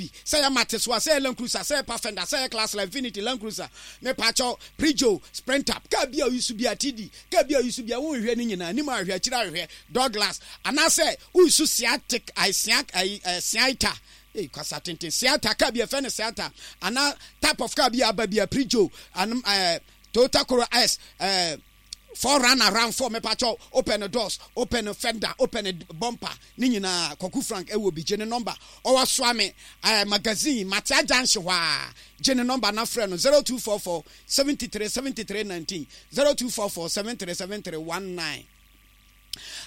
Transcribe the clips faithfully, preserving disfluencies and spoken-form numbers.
Bi sɛ yɛ Mate so a, sɛ yɛ Land Cruiser, sɛ yɛ Pathfinder, sɛ yɛ Class Infiniti Land Cruiser, mepakyɛw, Peugeot, Sprinter, kaa bi a oyi so bi a, T D kaa bi a oyi so bi a, wonhwɛ ne nyinaa anim ahwehwɛ, akyire ahwehwɛ, door glass, anaasɛ woyi Siatic ayi Sia ayi ɛɛ Siaita, ee, kasa tenten, Siata, kaa bi a ɛfɛ no Siata, anaa type of car bi a aba bi a, Peugeot anum, ɛɛ Toyota Corolla S, ɛɛ four runner, RAV four, mepakyɛw, open doors, open fender, open bumper ne nyinaa, Kɔku Frank ɛwɔ bi. Gye ne number, ɔwɔ Soame ɛɛ Magazine Matia Junction hɔ a. Gye ne number na frɛ no, zero two four four seventy-three seventy-three nineteen, zero two four four seventy-three seventy-three nineteen.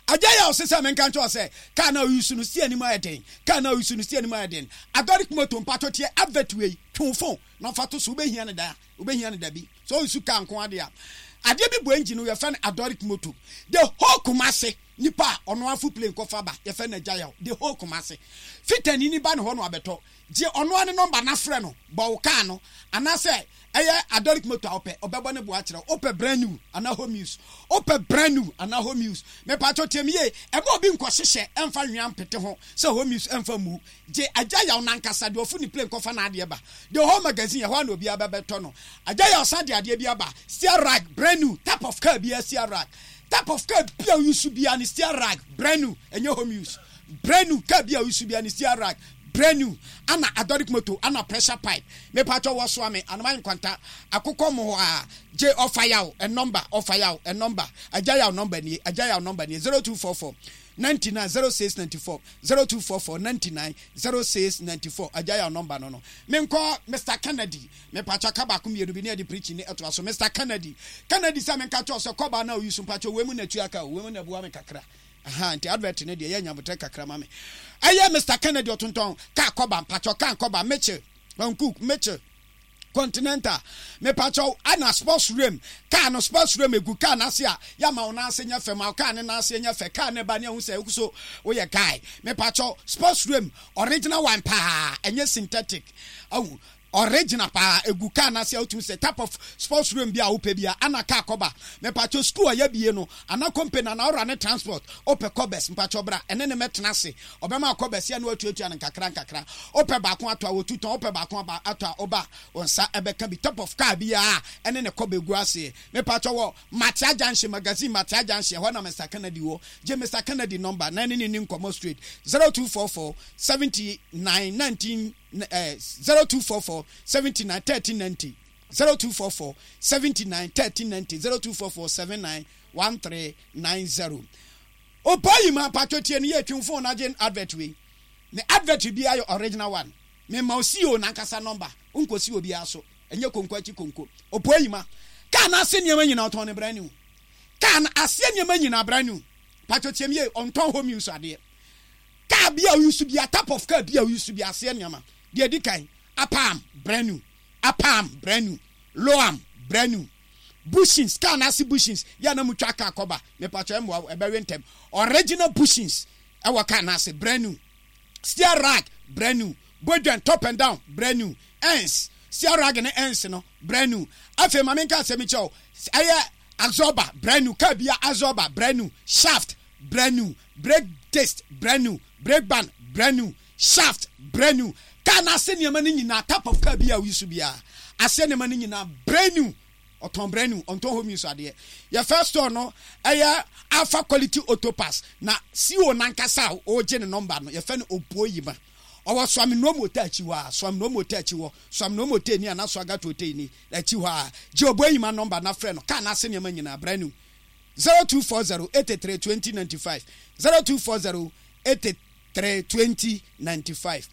Agya yɛ ɔsɛ sɛ menka nkyɛw sɛ kaa na oyi so no si anim ayɛ den, kaa na oyi so no si anim ayɛ den. Adɔrik Moto, mpatɔ tie advert wei, twe phone na ɔfa to so, wobɛhia ne da, wobɛhia ne da bi sɛ oyi so kaa nko adeɛ a, adeɛ bi bɔ engine no, yɛfɛ no Adɔrik Moto. The whole Kumase nipa a ɔno afo plane kɔfa ba, yɛfɛ no Agya Yaw. The whole Kumase fitani ni ba ne hɔ no abɛtɔ. Gye ɔno ane number na frɛ no, bɔ wo kaa no anaasɛ ɛyɛ Adɔrik Moto a wopɛ, ɔbɛbɔ ne boa kyerɛ. Wopɛ brand new anaa home use? Wopɛ brand new anaa home use? Mepatɔ tiam yie, ɛma obi nkɔhyehyɛ ɛmfa nwea mpete ho sɛ home use ɛmfa mu. Gye Agya Yaw nankasa deɛ ɔfo ne plane kɔfa n'adeɛ ba the whole Magazine, ɛhɔ a na obiara bɛbɛtɔ no. Agya Yaw san de adeɛ bi aba, steer rag, brand new. Type of car bi, steer rag, type of car bi a oyi so bia ne steer rag, brand new, ɛnyɛ home use, brand new. Car bi a oyi so bia ne steer rag, brand new, ana Adɔrik Moto ana pressure pipe. Mepatɔ wɔ soa me anoma nkwanta akokɔ mo hɔ a, gye ɔfa Yaw ɛ number, ɔfa Yaw ɛ number, Agya Yaw number nie, Agya Yaw number nie, zero two four four ninety-nine zero six ninety-four, zero two four four ninety-nine zero six ninety-four. Agya Yaw number no no menkɔ Mister Kennedy. Mepatɔ ka baako mmienu bi ne yɛde preaching ne ɛtoa so. Mister Kennedy, Kennedy sɛ menka kyɛw sɛ kɔba na oyi so, mpatɔ wei mu na tua ka o, wei mu na ɛboa me kakra. Aha nti advert ne deɛ yɛ nyabotɛ kakra ma me. Ɛyɛ Mister Kennedy, ɔtontɔn kaa kɔba. Mpatɔ kaa kɔba, Mitchell, Hankook, Mitchell, Continental, mepakyɛw, ana sports rim kaa no, sports rim egu kaa n'ase a yama wo n'ase nyɛ fɛ, ma wo kaa ne n'ase nyɛ fɛ, kaa ne ba ne ehu sɛ eku so woyɛ guy. Mepakyɛw, sports rim original one paa, ɛnyɛ synthetic, ahu original paa egu kaa n'ase a wotumi sɛ type of sports rim bi a wopɛ bi a, ana kaa kɔba. Mepakyɛw, school a yɛbie no ana company ana ɔra ne transport, wopɛ covers, mpakyɛw bra ɛne ne mɛtena ase, ɔbɛma covers yɛ no atuatua no nkakra nkakra. Wopɛ baako ato a, wotu tɔn. Wopɛ baako aba ato a, ɔba wɔn nsa ɛbɛka bi. Top of car bi a ɛne ne kɔba egu aseɛ. Mepakyɛw, wɔ Matia Junction, Magazine Matia Junction ɛhɔ na Mister Kennedy wɔ. Gye Mister Kennedy number na ɛne ne ni nkɔmɔ straight, zero two four four seventy nine nineteen ɛɛ zero two four four seventy nine thirteen ninety, zero two four four seventy nine thirteen ninety, zero two four four seven nine one three nine zero. Opa yi ma patro tie no yɛ twi phone agye advert wei ne advert bi ayɛ original one. Mema o C E O nankasa number, nkosi obiara so, ɛnyɛ konko akyi konko. Opa yi ma kaa na ase nneɛma nyinaa ɔtɔn ne brand new, kaa na aseɛ nneɛma nyinaa brand new. Patro tie mi yie, ɔntɔn home use adeɛ. Kaa bi a oyi so bi a, type of car bi a oyi so bi, aseɛ nneɛma deɛ di kan, upper arm brand new, upper arm brand new, lower arm brand new, bushings, kaa n'ase bushings yɛ na mu twa kaa kɔba, mepatwa ɛmoa ɛbɛwe ntɛm, original bushings ɛwɔ kaa n'ase, brand new, steer rag brand new, bodwan top and down brand new, ends, steer rag ne ends no brand new. Afei maame nka asɛm kyɛw, ɛyɛ absorber brand new, kaa bia absorber brand new, shaft brand new, brake disc brand new, brake band brand new, shaft brand new. Kaa n'ase nneɛma no nyinaa, type of car bi a oyi so biara, ase nneɛma no nyinaa brand new. Ɔtɔn brand new, ɔntɔn home use adeɛ. Yɛ first store no ɛyɛ Alpha Quality Auto Parts na C E O nankasa a ɔregye ne number no, yɛfɛ no Obuo Yima. Ɔwɔ Suame Nuom Hotel akyi hɔ a, Suame Nuom Hotel akyi hɔ, Suame Nuom Hotel ni ana Swagat Hotel ni akyi hɔ a. Gye Obuo Yima number na frɛ no. Kaa n'ase nneɛma nyinaa brand new, zero two four zero eighty-three twenty ninety-five, zero two four zero eighty-three twenty ninety-five.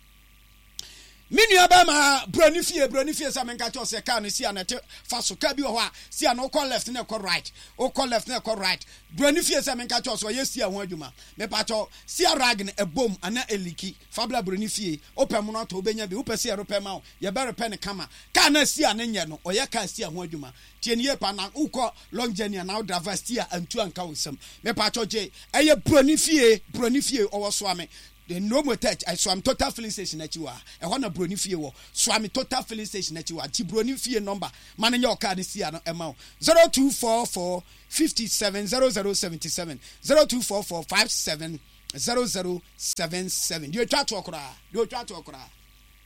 Me nua bɛma Buroni Fie, Buroni Fie sɛ menka kyɛw sɛ kaa no si a na ɛte fa so. Kaa bi wɔ hɔ a si a na wokɔ left na ɛkɔ right, wokɔ left na ɛkɔ right. Buroni Fie sɛ menka kyɛw sɛ ɔyɛ si a ho adwuma. Mepakyɛw, si a rag no ɛbom ana ɛleak, fabla Buroni Fie. Wopɛ mono atɔ, wobɛnya bi. Wopɛ sɛ yɛrepɛ ma wo, yɛbɛrepɛ ne kama. Kaa na si a ne nyɛ no, ɔyɛ kaa si a ho adwuma. Tie ne yie pa na wokɔ long journey anaa wo driver si a antu anka wo nsam. Mepakyɛw, gye ɛyɛ Buroni Fie. Buroni Fie ɔwɔ Soame Nomo Tech, Suame Total Filling Station akyi wɔ a, ɛhɔ na Buroni Fie wɔ. Suame Total Filling Station akyi wɔ a. Gye Buroni Fie number ma no nyɛ ɔkaa ne si a no ɛma wo, zero two four four fifty-seven zero zero seventy-seven, zero two four four five seven zero zero seven seven. Deɛ otwa toɔ koraa, deɛ otwa toɔ koraa.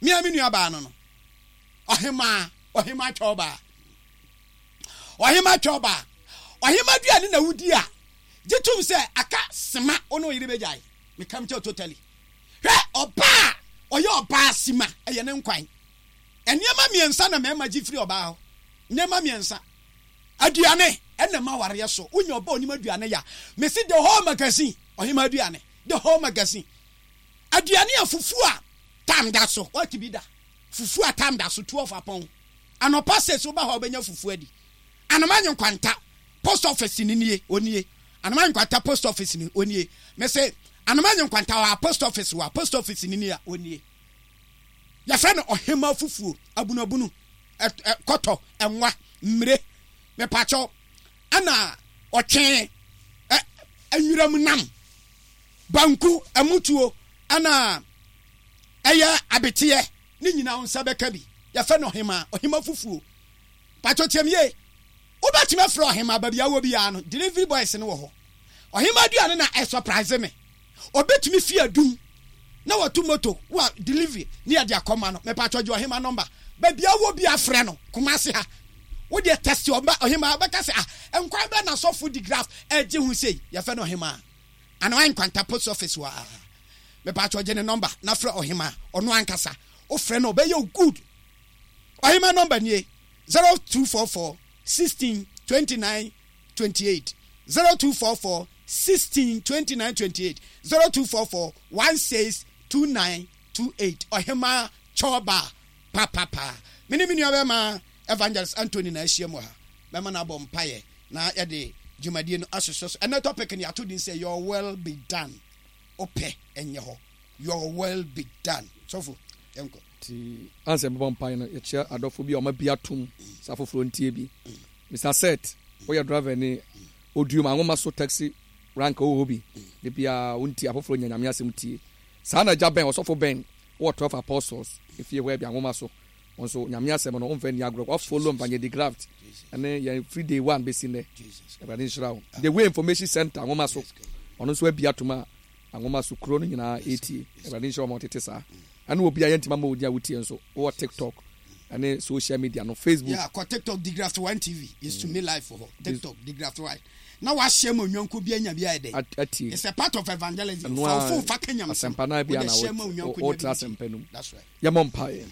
Mea me nua baa no no. Ɔhemaa, ɔhemaa twɛw baa. Ɔhemaa twɛw baa. Ɔhemaa aduane na wodi a, gye tom sɛ aka sema wo ne wo yere bɛgyae. Meka mekyɛw totally. Hwɛ, ɔbaa a ɔyɛ ɔbaa sima, ɛyɛ ne nkwan. Nneɛma mmiɛnsa na mmarima gye firi ɔbaa hɔ. Nneɛma mmiɛnsa. Aduane, ɛna ɛma awareɛ so. Wonya ɔbaa a ɔnim aduane yɛ a, mese the whole magazine, ɔhemaa aduane, the whole magazine. Aduane a fufuo a tam da so, woate bi da? Fufuo a tam da so, twelve apɔn. Anɔpa six woba hɔ a wobɛnya fufuo adi. Anoma Nkwanta post office no nie, onie. Anoma Nkwanta post office no onie. Mese Anoma Nkwanta wɔ post office wɔ post office no nie a onie. Yɛfrɛ no ɔhema fufuo, abunabunu, kɔtɔ, ɛnwa, mmire, mepakyɛw, ɛna ɔtwe, nwuram nam, banku, ɛmutuo, ɛna ɛyɛ abeteɛ, ne nyinaa wo nsa bɛka bi. Yɛfrɛ no ɔhema, ɔhema fufuo. Pakyɛw tie me yie. Wobɛtumi afrɛ ɔhema baabi a wɔ biara no, delivery boys no wɔ hɔ. Ɔhema aduane na ɛsurprise me. Obetumi fi adum na watu moto wa delivery ne yɛde akɔma no. Mepakyɛw gye ɔhema number. Baabi a wɔ biara frɛ no. Kumasi ha. Wo deɛ test ɔba ɔhema bɛka sɛ ah nkwan bɛn na sɔfo di graph ɛgye ho sei. Yɛfrɛ no ɔhema. Anaa Nkwanta post office wɔ ha. Mepakyɛw gye ne number na frɛ ɔhema. Ɔno ankasa. Wofrɛ no ɔbɛyɛ wo good. Ɔhema number nie. Zero two four four sixteen twenty nine twenty eight zero two four four sixteen twenty nine twenty eight zero two four four one six two nine two eight Ɔhemaa Kyɔɔba papapa. Me ne me nua bɛrima Evangelist Anthony na ahyia mu ha. Mɛma no abɔ mpaeɛ na yɛde dwumadie no ahyehyɛ so. Ɛnɛ topic no yɛato din sɛ Your Will Be Done. Wopɛ ɛnyɛ hɔ. Your will be done. Sɔfo, yɛnkɔ. Nti ansa yɛbɛbɔ mpae no, yɛkyia adɔfo bi a wɔabue atom sɛ afoforɔ ntie bi. Mister Seth, woyɛ driver ni, Oduom Anwoma so taxi rank wowɔ hɔ bi. Da biara wontie afoforɔ nya Nyame asɛm tie. Saa na Agya Ben, Ɔsɔfo Ben, wowɔ Twelve Apostles efie hɔ bi Anwoma so. Wo nso Nyame asɛm no womfa nni agorɔ. Wa follow Mvanye de Graft ɛne yɛn firi day one bɛsi nnɛ. Awurade nhyira wo. The Way Information Center Anwoma so, ɔno nso abue atom a Anwoma so kuro no nyinaa ɛretie. Awurade nhyira wɔn a wɔtete saa. Ɛne obi a yɛntumi ama wo din a wotie nso. Wowɔ TikTok ɛne social media no, Facebook. Yeah, kɔ TikTok Digraft One T V. It's to me life wɔ hɔ. TikTok Digraft One. Na wahyɛ ma onyanko bi anya bi ayɛ dɛ. Atie. It's a part of evangelism. Ɛno Fa wo ara phone fa ka nyamesɛm. asɛmpa no ara bi Wode a na hyɛ ma onyanko nya bi wotra ntie. asɛmpa no mu. That's right. Yɛmmɔ mpaeɛ.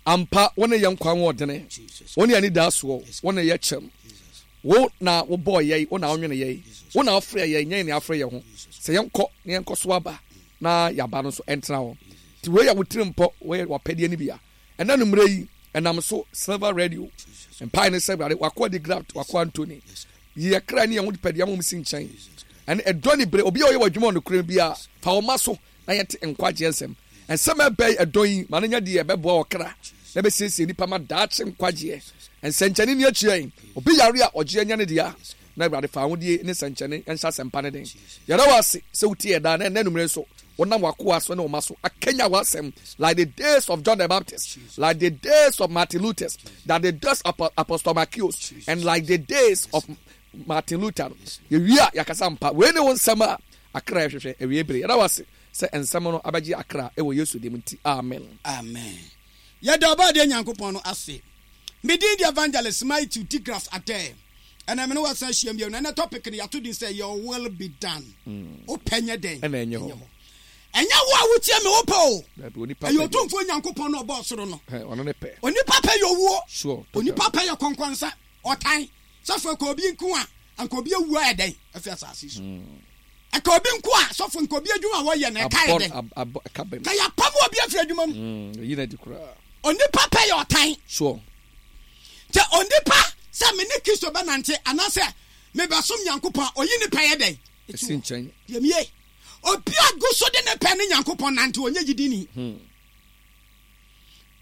Ampa, wo ne yɛn nkwa ahoɔdene, Jesus. wo ne yɛn anidasoɔ, wo ne yɛ kyɛm. Jesus. Wo na wobɔɔ yɛn, wo na wonwene yɛn, wo na wofrɛɛ yɛn, nyɛ yɛn na yɛafrɛ yɛn ho. Sɛ yɛnkɔ na yɛnkɔ so aba na yɛaba no nso ɛntena hɔ. Nti wei yɛ wo tirimpɔ, wei yɛ w'apɛdeɛ no bi a. Ɛnɛ anwummerɛ yi, ɛnam so Silver Radio, mpae ne sɛ Awurade, w'akoa de Graft, w'akoa Anthony, yi yɛ kra ne yɛn ho pɛdeɛ ma wɔn si nkyɛn. Ɛne ɛdɔ ne bere, obi a ɔyɛ w'adwuma wɔ nokorɛ biara, fa wo mma so na yɛnte nkwagyeɛ nsɛm. Nsɛm a ɛbɛn ɛdɔn yi ma no nya deɛ ɛbɛboa ɔkra na ɛbɛsiesie nnipa ma daakye nkwagyeɛ. Nsɛnkyɛnne nni akyire yɛn. Obi yare a, ɔgye anya ne dea. Na Awurade fa ahodie ne nsɛnkyɛnne nhyɛ asɛmpa no den. Yɛda wo ase sɛ wotie yɛn daa na ɛnnɛ anwummerɛ nso wonam w'akoa so ne wo mma so akanya w'asɛm like the days of John the Baptist, like the days of Martin Luther, that the days of Apostle Marcus, and like the days of Martin Luther no. Yɛwie a yɛakasa mpa. Wei ne wo nsɛm a akra ɛhwehwɛ awie bere. Yɛda wo ase sɛ nsɛm no abɛgye akra wɔ Yesu din mu nti, amen. Amen. Yɛda Ɔbɔadeɛ Nyankopɔn no ase. Me din de Evangelist Matthew Digraph Adair. Ɛnɛ me ne wo asan ahyiam bio na ɛnɛ topic no yɛato din sɛ Your Will Be Done. Wo pɛ nyɛ dɛn? Ɛna ɛnyɛ hɔ. Ɛnyɛ wo a wotie me wo pɛ o. Dabi, onipa Ɛyɛ pɛ deɛ. Otumfoɔ Nyankopɔn no a ɔbɔɔ soro no. Hɛ, ɔno ne pɛ. Onipa pɛ yɛ owuo. Sure, total. Onipa pɛ yɛ kɔnkɔnsa, ɔtan. Sɔfo, ɛka obi nko a, anka obi awu ayɛ dɛn afi asase so? Ɛka obi nko a, sɔfo, nka obi adwuma a wɔyɛ no, ɛka yɛ dɛn? Ka Ka yɛapam obi afiri adwuma mu. Mm, yi na di koraa. Onipa pɛ yɛ ɔtan. Sure. Kyɛ onipa sɛ me ne Kristo bɛnante anaasɛ mebɛsom Nyankopɔn a, ɔyi ne pɛ yɛ dɛn? Ɛsi nkyɛn. Yɛmie. Obi a gu so de ne pɛ ne Nyankopɔn nante, ɔnyɛ gyidini. Hmm.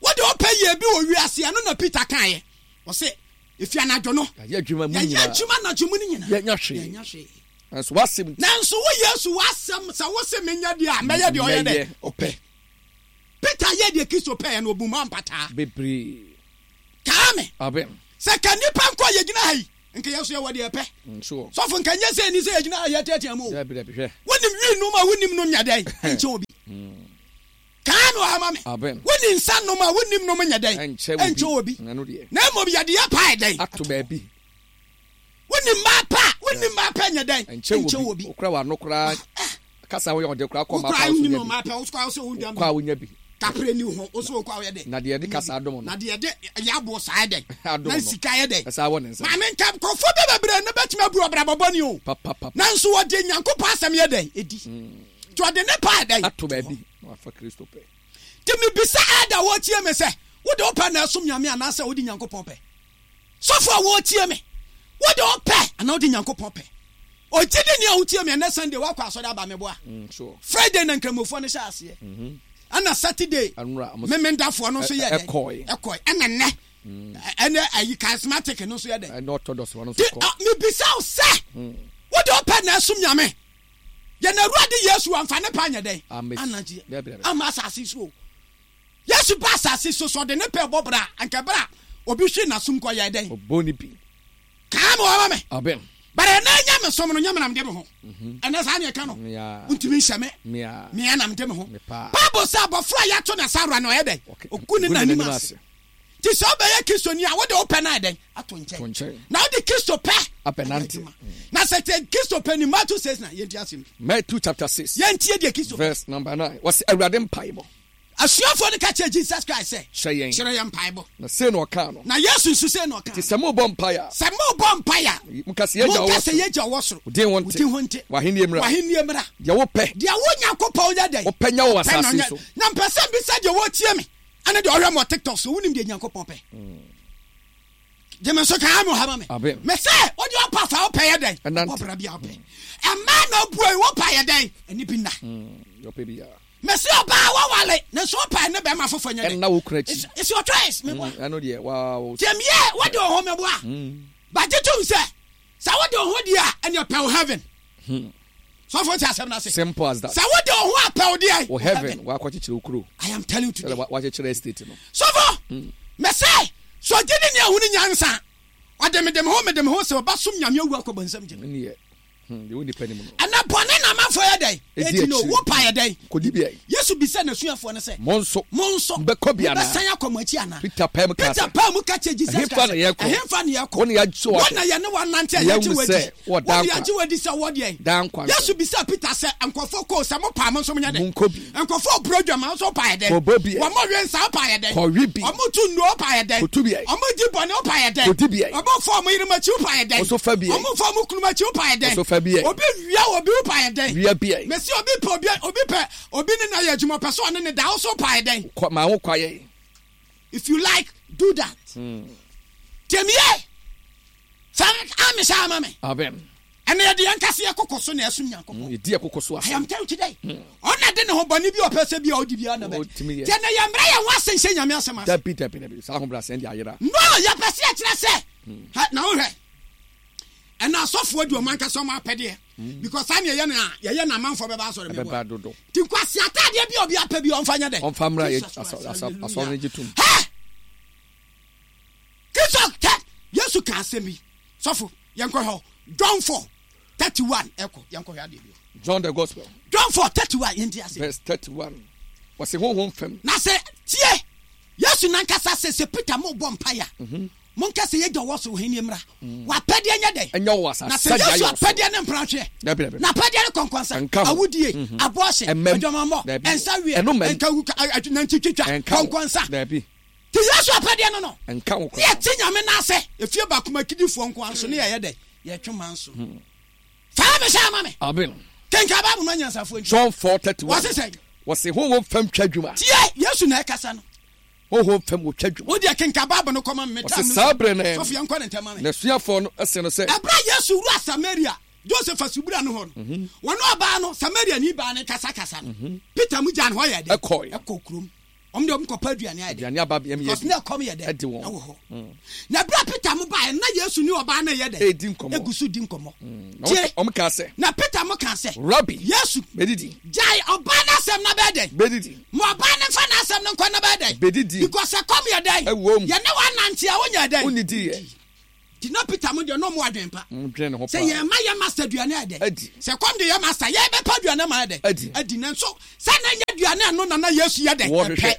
Wode ɔpɛ yɛ bi wɔ wiase, ɛno na Peter kaeɛ. Ɔse, efi anadwo no, Yɛayɛ adwuma mu yɛyɛ nyinaa. adwuma anadwo mu no nyinaa. Yɛanya hwee. Yɛanya hwee. Nanso w'asɛm nti. Nanso wo Yesu w'asɛm, sɛ wo se menyɛ deɛ a, mɛyɛ deɛ ɔyɛ dɛ. Mɛyɛ ɔpɛ. Peter yɛɛ deɛ Kristo pɛeɛ no, ɔbuu mu ampataa. Bebree. Kaa me. Amen. Sɛ ka nnipa nko a yɛgyina ha yi, nka yɛn nso yɛwɔ deɛ yɛpɛ. Mm, sure. Sɔfo, nka nyɛ sɛ ɛni sɛ yɛgyina ha yɛteatea mu o. Dabi, dabi, hwɛ. Wonim wii nom a wonim nom nyɛ dɛn? Nkyɛn obi. Mm. Kaa no ama me. Amen. Woni nsa nom a wonim nom nyɛ dɛn? Ɛnkyɛ Ɛnkyɛ wɔ wɔ bi. bi. Ɛno deɛ. Na mmom yɛde yɛ paa dɛn? Ato baabi. Wonim mmaa pa a wonim mmaa pa nyɛ dɛn? Ɛnkyɛ wɔ bi. bi. Okura w'ano koraa. Kasa woyɛ ɔde koraa kɔ Wokura mmaa pa so wonim nya bi. mmaa pa wokura wo sɛ wodua Kɔ a wonya bi. kapre ni ho wo so wokɔ a woyɛ dɛn? Na deɛ yɛde kasa adom no. Na deɛ yɛde yɛ aboɔ saa yɛ dɛn? Adom Na no. sika yɛ dɛn? Ɛsa wɔ ne nsa. Maame nka nkurɔfoɔ bi bebree no bɛtumi abu ɔbrabɔ bɔne o. Papapapa. Nanso wɔde Nyankopɔn asɛm yɛ dɛn? Edi. Nti ɔde ne pa yɛ dɛn? Ato baabi. Na wafa Kristo pɛ. Nti mebisa ɛda wɔtie me sɛ wode wo pɛ na ɛsom Nyame anaasɛ wode Nyankopɔn pɛ? Sɔfo a wɔtie me, wode wo pɛ anaa wode Nyankopɔn pɛ? Ogye di nea wotie me ɛnɛ Sunday woakɔ asɔre aba meboa. Mm, sure. Friday na nkramofoɔ no hyɛ aseɛ. Ɛna Saturday Anura. ɔmo- memendafoɔ no nso yɛ dɛn? Ɛkɔe. Ɛkɔe. Ɛna nnɛ ɛnɛ ayi charismatic no nso yɛ dɛn? Ɛne orthodox wɔn nso Nti kɔ. ah, mebisa wo sɛ wode wo pɛ na ɛsom Nyame? Yɛn Awurade Yesu amfa ne pa anyɛ dɛn? Amen. Anagye. Dabi, dabi. Ama asase so o. Yesu ba asase so sɛ ɔde ne pɛ bɔ bra anka bra obi hwe n'asom kɔ yɛ dɛn? Ɔbɔ ne bi. Kaa me wɔma me. Amen. Bara ɛnɛ nya me som no nyɛ me nam de me ho. Ɛnɛ saa ne ɛka no. Mia. Ntumi nhyɛ me. Mia. Mea nam de me ho. Me paa. Bible sɛ abɔfra a yɛato ne asawora no ɔyɛ dɛn? Okay. Ogu ne Gu ne n'anim n'anim ase. ase. Nti sɛ wobɛyɛ Kristoni a wode wo pɛ no ayɛ dɛn? Ato To nkyɛn. nkyɛn. Na wode Kristo pɛ Abɛnante. ayɛ adwuma. Na sɛ te Kristo pɛ ni Matthew six na yɛntie asɛm bi. Matthew chapter six. Yɛntie deɛ Kristo pɛ. Verse number nine. Wɔsi Awurade mpaebɔ. Asuafoɔ no ka kyerɛ Jesus Christ sɛ Hyɛ yɛn. kyerɛ yɛn mpaebɔ. Na sei na ɔkaa no. Na Yesu nso sei na ɔka. Nti sɛ mobɔ mpaeɛ a. Sɛ mobɔ mpaeɛ a. Monka sɛ yɛn Agya Monka ɔwɔ sɛ soro. yɛn Agya ɔwɔ soro. Wo din ho Wo nte. din ho nte. W'ahennie mmra. W'ahennie mmra. Deɛ wopɛ. Deɛ wo Nyankopɔn yɛ dɛn? Wopɛ nyɛ wɔ Pɛ na asase ɔnyɛ. so. Na mpɛ sɛ mbisa deɛ wɔtie me ɛne deɛ ɔhwɛ me wɔ TikTok so wonim deɛ Nyankopɔn pɛ. Gyeme nso ka ame ɔha ma me. Amen. Me sɛ wode ɔpa fa wopɛ yɛ dɛn? Ɛnante. Wɔ bra bi a wopɛ. Ɛmaa na obue wopa yɛ dɛn? Ɛne bi nna. Mm, deɛ ɔpɛ biara. Me sɛ ɔbaa wɔwale ne nso wopa ɛne bɛrima foforɔ nyɛ dɛn? Ɛnna wo kunu akyi. It's, it's your choice. Meboa. Mm, ɛno deɛ wow. Tiɛmiyɛ wode wo ho meboa. Mm. Bagye tom sɛ sɛ wode wo ho deɛ a ɛne ɔpɛ wo heaven. Hmm. Sɔfo nti asɛm no ase. Simple as that. Sɛ wode wo ho apɛ wo deɛ. Wɔ heaven wakɔkyekyere wo kuro. I am telling you today. Sɛ wakyekyere estate no. Sɔfo mɛ sɛ sɛ ɔgye ne nea ahunu nyansa ɔde mede me ho mede me ho sɛ ɔba som Nyame awu akɔ bɔnsam gyem. Ɛne yɛ. Hmm, deɛ wo nipa nim no. Ɛnɛ bɔne na amanfoɔ yɛ dɛn? Ɛdi Edi no akyire. wo pa yɛ dɛn? Kɔdi bi ayi. Yesu bisa n'asuafoɔ no sɛ Mo nso. mo nso Mobɛkɔ bi anaa? mobɛsan akɔ mo akyi anaa? Peter pɛɛ mu kaa Peter sɛ. paa mu ka kyerɛ Jesus Ɛhefa Christ na yɛkɔ? ɛhefa na yɛkɔ? Wo na yɛagye wo Wo ahwɛ. na yɛne wanante a Yɛahu yɛagye wo adi. sɛ wɔ Wo daa na nkwa. yɛagye wo adi sɛ wɔ deɛn? Daa nkwa nsɛm. Yesu bisa Peter sɛ nkurɔfoɔ kɔɔ sɛ mo paa mo nso monyɛ dɛn? Monkɔ bi. Nkurɔfoɔ buro dwama nso pa yɛ dɛn? Kɔbɔ bi. Wɔn we nsa pa yɛ dɛn? Kɔwe bi. Wɔn tu nnuro pa yɛ dɛn? Kɔtu bi. Wɔn di bɔne pa yɛ dɛn? Kɔdi bi. Wɔn fa wɔn yerenom akyi pa yɛ dɛn? Wɔso fa bi. Wɔn fa wɔn kununom akyi pa yɛ dɛn? Wɔso fa bi. Obi wia obi pa yɛ dɛn? Wia bi. Mesi obi pɛ obi obi pɛ obi ne na yɛ adwuma pɛ so ɔne ne da ɔso pa yɛ dɛn? Kɔ maa wo kwaeɛ. If you like, do that. Tiɛmiyɛ sɛ ami sɛ ama me. Amen. Ɛnna yɛde yɛn kase yɛ koko so na ɛsom Nyankopɔn. Yɛdi ɛkoko so I ase. am telling you today. Ɔna de ne ho bɔne bi a ɔpɛ sɛ bi a ɔdi bi a na bɛ. Ɔtumi yɛ. Tiɛ na yɛn mmerɛ yɛn ho ase nhyɛ Nyame asɛm ase. Dabi dabi dabi. Saa ahobrɛaseɛ deɛ ayera. No, yɛpɛ sɛ yɛkyerɛ sɛ. Ha, na wohwɛ. Ɛna asɔfoɔ di ɔmo ankasa ɔmo apɛdeɛ. Because saa ne yɛyɛ no a yɛyɛ na amanfoɔ bɛba asɔre Ɛbɛba mɛboa. dodo. Nti nkwasi ataadeɛ bi a obi apɛ bi a ɔmfa nyɛ dɛ. Ɔmfa mmra yɛ Jesus Christ, asɔ- asɔ- hallelujah. asɔre no gye tom. Hɛ! Kristo hɛ! Yesu ka asɛm bi. Sɔfo, yɛnkɔ hɔ. John four thirty one ɛkɔ yɛnkɔ hwɛ adeɛ bi. John the Gospel. John four thirty one yɛnti ase. Verse thirty one. Wɔsi honhom fam. Na sɛ tie Yesu nankasa sɛ sɛ Peter mo bɔ mpaeɛ a monka sɛ yɛgya wɔ soro hene mmra. Wapɛdeɛ nyɛ dɛn? Ɛnyɛ wɔ asase. Na sɛ sɛdeɛ Yesu ayɛ wɔ soro. apɛdeɛ ne mpratweɛ. Dabi dabi. Na apɛdeɛ ne kɔnkɔnsa. Ɛnka ho. Awudie, abɔɔhye, Ɛmɛm. adwamammɔ, Dabi. ɛnsa wie, Ɛno mɛm. ɛnka wu- a- a- nantitwitwa, Ɛnka ho. kɔnkɔnsa. Dabi. Nti Yesu apɛdeɛ no no. Ɛnka ho Ne koraa. yɛte Nyame n'ase. Efie baako ma akidifoɔ nko ara nso ne yɛyɛ dɛ. Yɛtwe ma nso. Faa me hyɛ ama me. Amen. Kenka Bible ma nyansafoɔ nti. John four thirty one. Wɔse sɛn? Wɔsi honhom fam twa dwuma. Tie Yesu na ɛkasa no. Honhom fam wɔtwa dwuma. Wo deɛ kenka Bible no kɔma me. Wɔse saa berɛ no Sɔfo yɛnkɔ ne ntɛm ma me. N'asuafoɔ no ɛsɛ no sɛ. Ɛberɛ a Yesu wura Samaria, Joseph asubura no hɔ no, wɔne ɔbaa no, Samaria ni baa no kasakasa no, Peter mu gyaa ne hɔ yɛ dɛ. Ɛkɔe. Ɛkɔ kurom. Ɔmo deɛ ɔmo kɔpɛ aduane ayɛ dɛ. Aduane aba bi ɛmi yɛ Because bi. ne ɛkɔm yɛ dɛ. Ɛdi wɔn. Ɛwɔ hɔ. Na ɛberɛ a Peter mo baeɛ, na Yesu ne ɔbaa no yɛ dɛ. Ɛredi nkɔmmɔ. Egu so di nkɔmmɔ. Na Tie. wɔn ɔmo kaa sɛ. Na Peter mo kaa sɛ. Rabbi. Yesu. Bɛdidi. Gyae ɔbaa n'asɛm na bɛyɛ dɛ. Bɛdidi. Ma ɔbaa ne nfa n'asɛm no nkɔ na bɛyɛ dɛ. Bɛdidi. Because ɛkɔm yɛ dɛ. Ɛwɔ mu. Yɛne wanante a wonyɛ dɛ. Wonnidi yɛ. Nti na Peter mo deɛ na ɔmo adwen pa Dwene ne ho sɛ paa. Yɛn ma yɛ master aduane ayɛ dɛ Adi. Sɛ kɔm de yɛ master, yɛbɛpa aduane ma ayɛ dɛ. Adi. Adi. Nanso sɛ na nyɛ aduane ɛno na na Yesu yɛ dɛ Wɔhwehwɛ. ɛpɛ.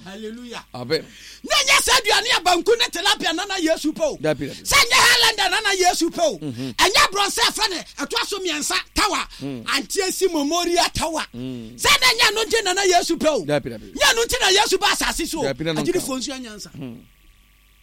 Hallelujah. Amen. Na nyɛ sɛ aduane a banku ne tilapia na na Yesu pɛ o. Dabi, dabi. Sɛ nyɛ Highlander na na Yesu pɛ o. Ɛnyɛ borɔnsɛ ɛfrɛ ne ɛtoa so mmiɛnsa tower, Antiesi Memorial Tower, sɛ na nyɛ no nti na na Yesu pɛ o. Dabi, dabi. Nyɛ no nti na Yesu ba asase so o. Dabi, na no nka. Agyidifoɔ nso anyansa.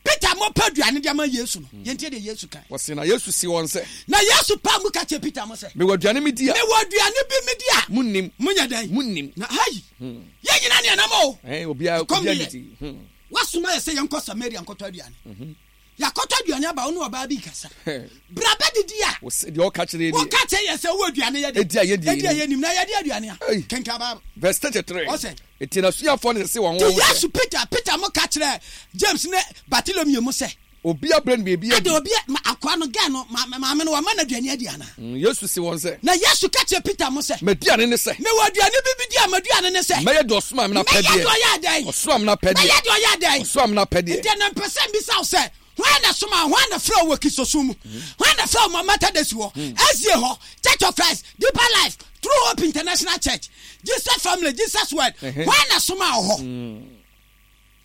Peter mo pɛ aduane de ama Yesu no, yɛntie deɛ Yesu kan. Wɔse na Yesu si wɔn sɛ, Na Yesu pa mu ka kyerɛ Peter mo sɛ, mewɔ aduane medi a mewɔ aduane bi medi a munnim. Monyɛ dɛn? Munnim. Na hayi yɛn nyina ne ɛnam o. Ɛn, obiara Kɔm obiara deɛ. nidi. Hmm. Wasoma yɛ sɛ yɛnkɔ Samaria nkɔtɔ aduane. Yɛakɔtɔ aduane aba, wo ne ɔbaa bi kasa, bra bɛdidi a Wɔse deɛ ɔka kyerɛ ni wɔka kyerɛ yɛ sɛ wowɔ aduane yɛ de Edi a yɛdi ɛdi a yɛnim. yɛnim na yɛde aduane a Ei. kenka Bible. Verse thirty-three. Ɔsɛ. Enti n'asuafoɔ no sese wɔn Nti ho sɛ, Yesu, Peter Peter mo ka kyerɛ James ne Bartolomeo mo sɛ, obi abrɛ no biribi ade adi. Obi ma akoa no gɛ no ma- maame no wama no aduane adi ana? Mm, yesu si wɔn sɛ, Na Yesu ka kyerɛ Peter mo sɛ, m'aduane ne sɛ, mewɔ aduane bi bi di a m'aduane ne sɛ, mɛyɛ deɛ ɔsoma me mɛyɛ n'apɛdeɛ. Deɛ ɔyɛ adɛn? Ɔsoma me n'apɛdeɛ. Mɛyɛ deɛ ɔyɛ adɛn? Ɔsoma me n'apɛdeɛ. Nti ɛnɛ mpɛ sɛ mbisa wo sɛ, hwan na soma, hwan na frɛ wo wɔ Kristosom mu? Hwan na frɛ wo ma Methodist wɔ S D A hɔ, Church of Christ, Deeper Life, True Hope International Church, Jesus Family, Jesus Word? Ɛhɛ. Hwan na soma wo hɔ?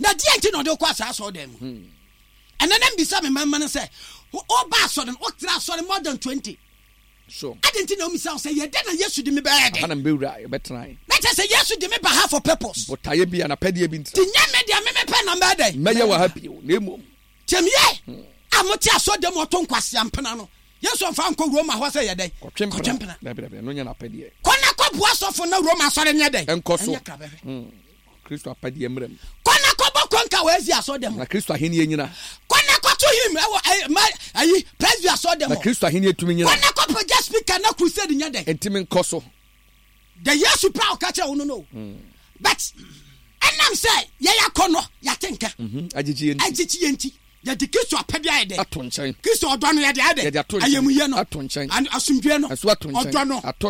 Na deɛ nti na ɔde wokɔ asaa asɔre dan mu? Ɛnɛ na mbisa me mama no sɛ, wo- woba asɔre no, wotra asɔre more than twenty, Sure. ade nti na womisa wo sɛ, yɛdɛ na Yesu de me bɛyɛ Aha dɛn? na mbɛwura yɛbɛtena. Na kyerɛ sɛ Yesu de me ba ha for purpose. Botaeɛ bi a n'apɛdeɛ bi Nti ntira. nyɛ me deɛ me mepɛ na mbɛyɛ dɛn? Mɛyɛ wɔ ha bio na mmom Tiɛmiyɛ a mote asɔ dɛm ɔto nkwasea mpena no, Yesu ɔmfa nkɔ Roma hɔ sɛ yɛ dɛn? Kɔtwe Kɔtwe mpena. mpena. Dabi, dabi, ɛno nyɛ n'apɛdeɛ. Kɔ na kɔboa sɔfo na Roma asɔre nyɛ dɛn? Ɛnkɔ so. Ɛnyɛ krabɛhwɛ. Kristo apɛdeɛ mmerɛ mu. Kɔ na kɔbɔ kɔnka wɔ asi asɔ dɛm. Na Kristo ahenni nyina. Kɔ na kɔto hymn ɛwɔ ɛyi ma ayi Presby asɔ dɛm Na hɔ. Kristo ahenni tumi nyina. Kɔ na kɔpagya speaker na crusade nyɛ dɛn? Ntimi nkɔ so. The Yesu pa a ɔka kyerɛ wo no no but ɛnam sɛ yɛyɛ akɔ no yɛate nka Mhm. Agyegye yɛ nti. Agyekyi yɛ nti yɛde Kristo apɛdeɛ ayɛ dɛn? Ato nkyɛn. Kristo ɔdɔ no yɛde ayɛ dɛn? Yɛde ato nkyɛn. Ayɛmuyɛ no. Ato nkyɛn. An- asomdwoe no. Ɛso ato nkyɛn. Ɔdɔ no. Ato